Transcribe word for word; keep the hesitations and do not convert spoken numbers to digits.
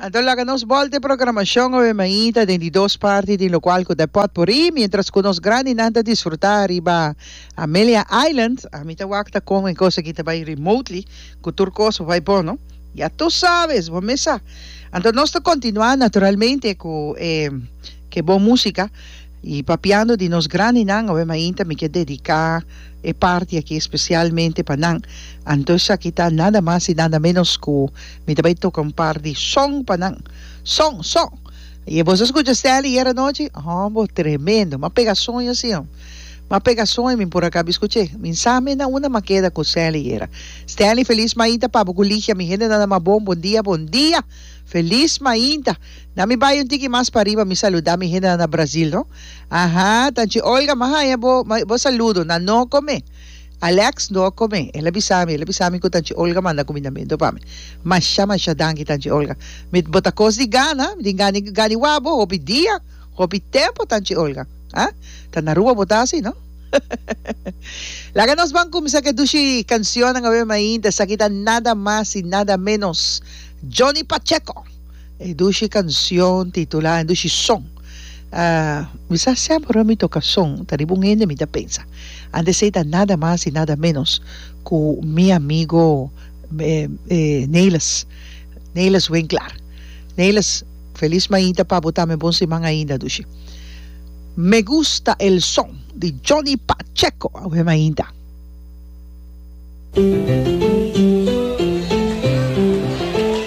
Anto laga nos bolta e programacion awe mainta den di dos parti di locual cu ta e potpourri mientras cu nos grandinan ta disfruta riba Amelia Island. Ami ta wak ta con e cos aki ta bay remotely cu tur cos bo bay bon no. Ya tu sabes, bo mes sa. Anto nos ta continua naturalmente cu e ke bon musica. Y papiando di nos grandinan awe mainta mi ke dedica e parti aki especialmente pa nan. Anto esaki ta nada mas y nada menos cu mi ta bay toca un par di son pa nan. Son, son! Y boso a scucha Stanley ayer anochi? Hombo, tremendo! M'a pega soño asi hom. M'a pega soño, mi por a caba scuch'e. Mi sa mi na unda m'a keda cu Stanley ayera. Stanley, feliz mainta pa bo cu Ligia, mi hende nada mas bon. Bon dia, bon dia! Feliz mainta! Na mi bai un tiki mas pariba mi saluda mi hendenan na Brazil no. Aha, tanchi Olga m'a haña bo bo saludo, nan no come. Alex no a come, el a bisa mi, el a bisa mi cu tanchi Olga manda cumindamento pa mi. Masha masha danki tanchi Olga. Mi bo ta cos di gana, mi tin gana gana wak bo hopi dia, hopi tempo tanchi Olga. Ah, ta na Aruba bo ta asi no. Laga nos ban cuminsa cu e dushi cancionnan awe mainta, esaki ta nada mas y nada menos Johnny Pacheco. E dushi cancion titula E dushi son. Mi sa semper ora mi toca son ta riba un hende mi ta pensa. Antes esey ta nada mas y nada menos cu mi amigo Nelis, Nelis Winklaar. Nelis, feliz mainta pa bo tambe, bon siman ainda dushi. Me gusta el son di Johnny Pacheco awe mainta.